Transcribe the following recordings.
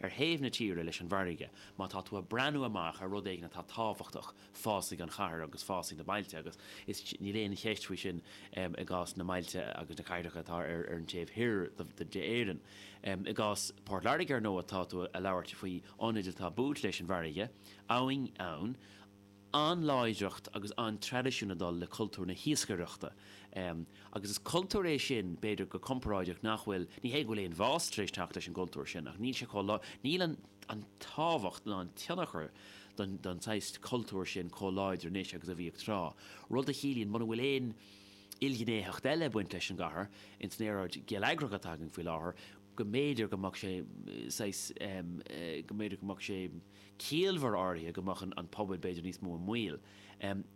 Ar thaobh na tíre leis an bhfarraige, má tá tú ag breathnú amach ar rud éigin atá tábhachtach, fásfaidh an chathair agus fásfaidh na bailte agus is níl aon cheist faoi sin i gcás na mbailte agus na cathracha atá ar an taobh thoir d'Éirinn. I gcás Port Láirge, ar ndóigh, tá tú ag labhairt faoi ionaid atá buailte leis an bhfarraige, abhainn ann, an-láidreacht agus an-traidisiún ag dul le cultúr na hiascaireachta. Agus is cultúr é sin, b'fhéidir, go comparáideach nach bhfuil, ní hé go bhfuil aon bhás tar éis teacht leis an gcultúr sin ach níl sé chomh, níl an an tábhacht ná an tionchar don don saghas cultúr sin chomh láidir anois agus a bhíodh tráth. Rud a chiallaíonn muna bhfuil aon ilghnéitheacht eile ag baint leis an gcathair, ins an aeráid gheilleagrach atá againn faoi láthair, go mb'fhéidir go mbeadh sé saghas, go mb'fhéidir go mbeadh sé ciallmhar áirithe go mbeadh an pobal b'fhéidir níos mó i mbaol.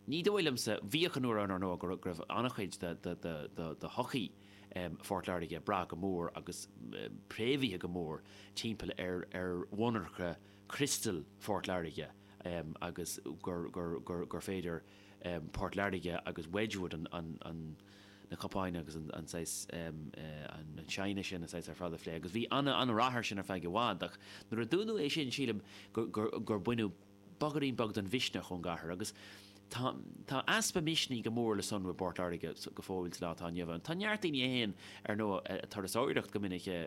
Ní dóigh liomsa, bhíodh an uair ann ar ndóigh go raibh an-chuid de shochaí Phort Láirge ag brath go mór agus préamhaithe go mór timpeall ar mhonarcha criostail Phort Láirge agus gur féidir Port Láirge agus Wedgwood an na cupáin agus an saghas, an china sin, an saghas ar fad a phlé agus bhí an-rath air sin ar feadh i bhfad ach nuair a dúnadh é sin sílim gur baineadh bogairín beag den mhisneach ón gcathair agus tá tá easpa misnigh go mór le sonrú i bPort Láirge go fóill sa lá atá inniu ann. Tá neart daoine a théann ar ndóigh ag turasóireacht go minic i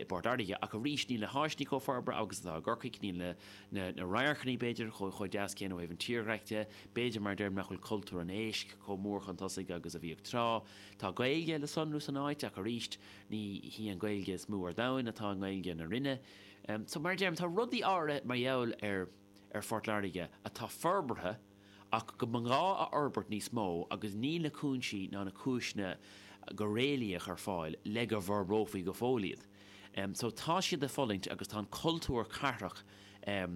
bPort Láirge ach arís níl na háiseanna chomh forbartha agus atá i gCorcaigh, níl na na radharcanna b'fhéidir chomh deas céanna ó thaobh an tírdhreach de, b'fhéidir mar a deirim nach bhfuil cultúr an éisc chomh mór chun tosaigh agus a bhíodh tráth. Tá Gaeilge le sonrú san áit ach arís ní hí an Ghaeilge is mó ar domhan atá i nGaeilge na Rinne. So mar a deirim tá rudaí áirithe mar gheall ar ar Phort Láirge atá forbartha ach go mba ghá a fhorbairt níos mó agus níl na cúinsí ná na cúiseanna go réalaíoch ar fáil le go bhforbrófaí go fóill iad. So tá siad ag fulaingt agus tá an cultúr cathrach i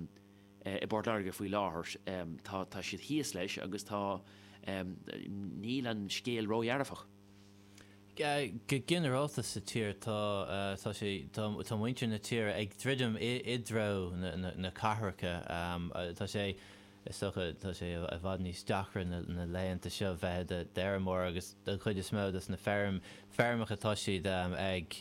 bPort Láirge faoi láthair, tá tá siad thíos leis agus tá níl an scéal ródhearfach. Go ginearálta sa tír tá tá sé tá tá muintir na tíre ag druidim i i dtreo na na na cathracha. Tá sé Is dócha, tá sé i bhfad níos deacra na laethanta seo bheith i d'fheirmeoir agus don chuid is mó dos na feirm, feirmeacha tá siad ag,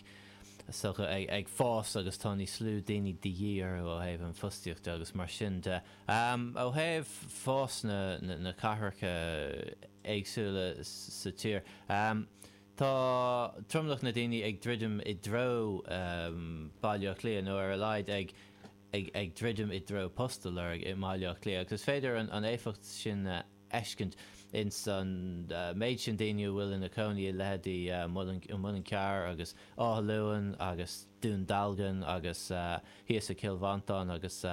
is dócha, ag fás agus tá níos lú daoine de dhíth orthu ó thaobh an fostaíocht de agus mar sin de. Ó thaobh fás na, na cathracha éagsúla sa tír, tá tromlach na daoine ag druidim i dtreo Baile Átha Cliath nó ar a laghad ag, ag druidim i dtreo post a lorg i mBaile Átha Cliath agus is féidir an éifeacht sin a fheiscint ins an méid sin daoine a bhfuil ina cónaí i leithéidí Muileann Cearr agus Áth Luain agus Dún Dealgan agus thíos i gCill Mhantáin agus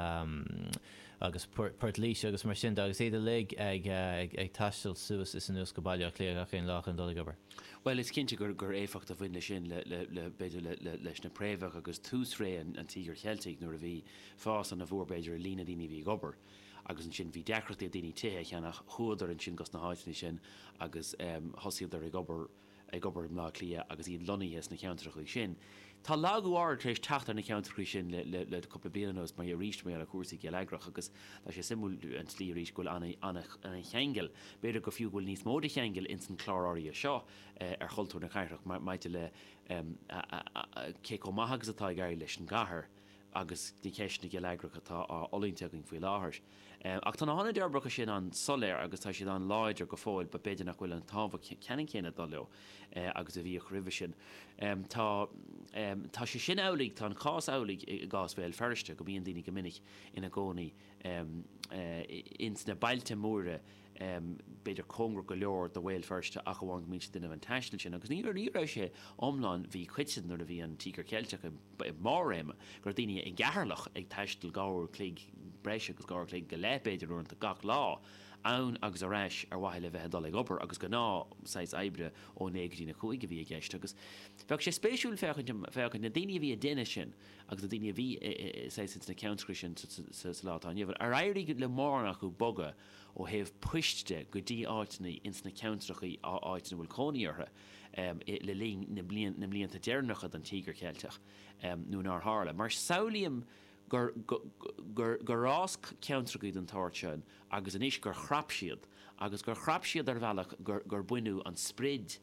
agus Port Laoise agus mar sin de agus iad uilig ag ag taisteal suas is anuas go Baile Átha Cliath gach aon lá chun dul ag obair. Bhuel, is cinnte gur gur éifeacht a bhain leis sin le le le b'fhéidir le le leis na préamhacha agus tús ré an an Tíogair Cheiltigh nuair a bhí fás ana mhór b'fhéidir i líon na daoine a bhí ag obair agus ansin bhí deacrachtaí ag daoine tithe a cheannach, chuadar ansin gos na háiteanna sin agus thosaíodar ag obair ag obair i mBleá Cliath agus iad lonnaithe sna ceantracha sin. Tá lagú áirid tar éis teacht ar na ceantracha sin le le le cúpla bliain anuas mar arís mar gheall ar chúrsaí geilleagrach agus tá sé suimiúil an tslí arís go bhfuil ana-cheangal, b'fhéidir go fiú go bhfuil níos mó de cheangal ins an clár áirithe seo ar chultúr na cathrach maidir le cé chomh maith agus atá ag éirí leis an gcathair agus na ceisteanna geilleagracha atá á fhulaingt againn faoi láthair. Ach tá na hionaid uirbeacha sin an-soiléir agus tá siad an-láidir go fóill but b'fhéidir nach bhfuil an tábhacht ceannann céanna ag dul leo agus a bhíodh roimhe sin. Tá tá sé sin amhlaidh, tá an cás amhlaidh i gcás Bhéal Feirste, go mbíonn daoine go minic ina gcónaí ins na bailte móra b'fhéidir cóngarach go leor do Bhéal Feirste ach amháin go mbíonn siad ag déanamh an taistil sin agus ní ní raibh sé iomlán mhíchoiteann nuair a bhí an Tíogar Ceilteach i mbarr réime go raibh daoine i gCeatharlach ag taisteal 2 uair chloig, breis agus 2 uair chloig go leith b'fhéidir uaireanta gach lá ann agus ar ais ar mhaithe le bheith ag dul ag obair agus gnáth saghas oibre ó 9 go dtí na 5 a bhí i gceist agus bheadh sé spéisiúil féachaint féachaint na daoine a bhí ag déanamh sin agus na daoine a bhí saghas ins na ceantracha sin sa lá atá inniu ann ar éirigh le mórán acu bogadh ó thaobh poist de go dtí áiteanna ins na ceantracha áiteanna a bhfuil cónaí orthu le linn na na mblianta deireanacha den Tíogar Cheilteach nó nár tharla. Mar samhlaím gur gur gur fhás ceantracha den tsórt sin agus anois gur chrap siad agus gur chrap siad ar bhealach gur gur baineadh an sprid.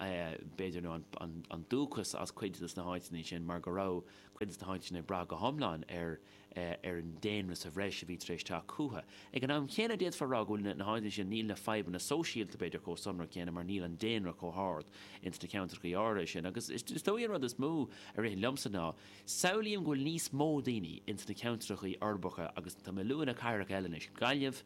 b'fhéidir, nó an dúchas as cuid de na háiteanna sin mar go raibh cuid de na háiteanna ag brath go hiomlán ar ar an daonra sa bhreis a bhí tar éis teacht chucu. Ag an am chéanna d'fhéadfá a rá go bhfuil na háiteanna sin, níl na fadhbanna sóisialta b'fhéidir chomh sonrach céanna mar níl an daonra chomh hard ins na ceantracha áirithe sin. Agus is dóigh an rud is mó a ritheann liomsa ná, samhlaím go bhfuil níos mó daoine ins na ceantracha uirbeacha agus tá mé ag lua na cathracha eile anois, Gaillimh,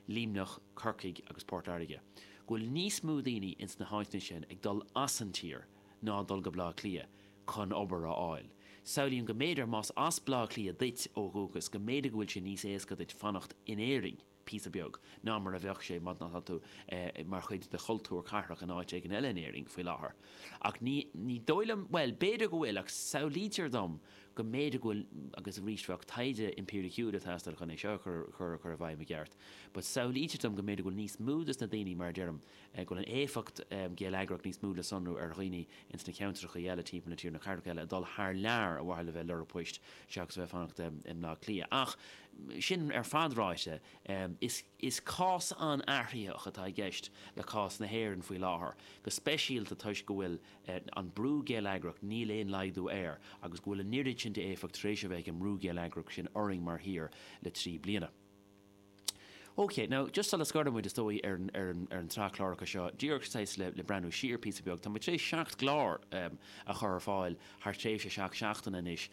Luimneach, Corcaigh agus Port Láirge, go bhfuil níos mó daoine ins na háiteanna sin ag dul as an tír ná dul go Bleá Cliath chun obair a fháil. Samhlaím go mb'fhéidir más as Bleá Cliath duit ó dhúchas go mb'fhéidir go bhfuil sé níos éasca duit fanacht in Éirinn píosa beag ná mar a bheadh sé má tá tú mar chuid de chultúr cathrach in áit éigin eile in Éirinn faoi láthair. Ach ní ní dóigh liom, bhuel, b'fhéidir go bhfuil ach samhlaítear dom go mb'fhéidir go bhfuil, agus arís bheadh taighde impiriciúil ag teastáil chun é seo a chur a chur i bhfeidhm i gceart, but samhlaítear dom go mb'fhéidir go bhfuil níos mó des na daoine, mar a deirim, go bhfuil an éifeacht gheilleagrach níos mó le sonrú ar dhaoine ins na ceantracha eile timpeall na tíre, na cathracha eile, ag dul thar lear ar mhaithe le bheith ag lorg poist seachas a bheith ag fanacht i mBleá Cliath. Ach sin ar fad ráite, is is cás an-athraitheach atá i gceist le cás na hÉireann faoi láthair, go speisialta toisc go bhfuil an brú geilleagrach, níl aon laghdú air, agus go bhfuil an oiread sin d'éifeacht tar éis a bheith ag an mbrú geilleagrach sin orainn mar thír le 3 bliana. Ok, now, just sula scoireann muid, is dóigh, ar an, ar an, ar an tsraith cláracha seo, díreach saghas le, le breathnú siar píosa beag, tá muid tar éis 7 gclár a chur ar fáil thar tréimhse 7 seachtaine anois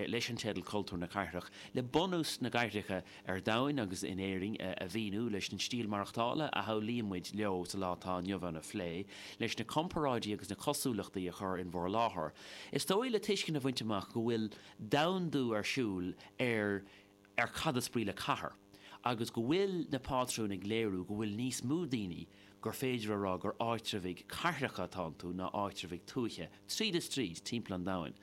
leis an teideal Cultúr na Cathrach, le bunús na gcathracha ar domhain agus in Éirinn a mhíniú, leis an stíl maireachtála a shamhlaíonn muid leo sa lá atá inniu ann a phlé, leis na comparáidí agus na cosúlachtaí a chur in bhur láthair. Is dóigh le tuiscint a bhaint amach go bhfuil domhandú ar siúl ar ar cad is brí le cathair, agus go bhfuil na pátrúin ag léiriú go bhfuil níos mó daoine gur féidir a rá gur áitreabhaigh cathracha atá iontu ná áitreabhaigh tuaithe, tríd is tríd, timpeall an domhain,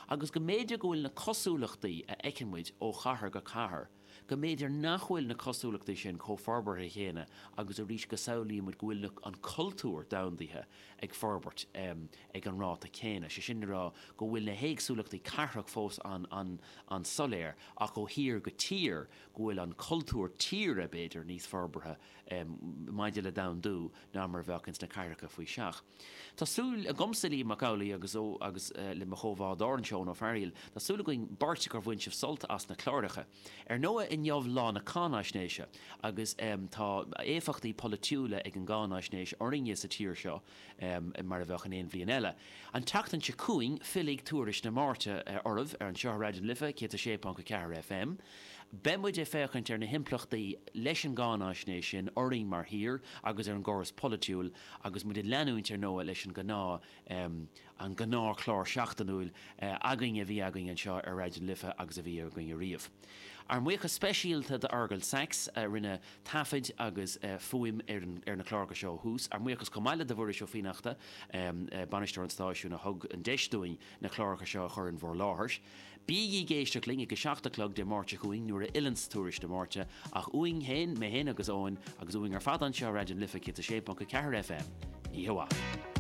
agus go mb'fhéidir go bhfuil na cosúlachtaí a fheiceann muid ó chathair go cathair, go mb'fhéidir nach bhfuil na cosúlachtaí sin chomh forbartha chéanna agus arís go samhlaíonn muid go bhfuil na an cultúr domhandaithe ag forbairt ag an ráta céanna, sé sin le rá go bhfuil na héagsúlachtaí cathrach fós an-soiléir ach ó thír go tír go bhfuil an cultúr tíre, b'fhéidir, níos forbartha maidir le domhandú ná mar a bheadh ins na cathracha faoi seach. Tá súil agamsa, Liam Mac Amhlaigh, agus agus le mo chomhbhádóir anseo, Eoin Ó Fearghaíl, tá súil againn beirt gur bhain sibh sult as na cláracha. Ar ndóigh, inniu lá na cáinaisnéise agus tá éifeachtaí polaitiúla ag an gcáinaisnéis orainne sa tír seo mar a bheadh in aon bhliain eile. An tseachtain seo chugainn fillfidh Tuairisc na Máirte oraibh ar anseo ar Raidió na Life 106.4 FM. Beidh muid ag féachaint ar na himpleachtaí leis an gcáinaisnéis sin orainn mar thír agus ar an gcóras polaitiúil agus muid ag leanúint ar ndóigh leis an gnáth an gnáthchlár seachtainiúil againn a bhí againn anseo ar Raidió na Life agus a bhí againn ariamh. Ár mbuíochas speisialta d'Fheargal Sachs a rinne taifid agus fuaim ar na cláracha seo ó thús. Ár mbuíochas chomh maith le do Mhuiris Ó Fiannachta, bainisteoir an stáisiúin a thug an deis dúinn na cláracha seo a chur in bhur láthair. Bígí ag éisteacht linn ag a 7 a chlog Dé Máirt seo chugainn nuair a fhilleanns Tuairisc na Máirte, ach uainn féin, mé féin agus Eoin, agus uainn ar fad anseo ar Raidió na Life 106.4 FM. Oíche mhaith.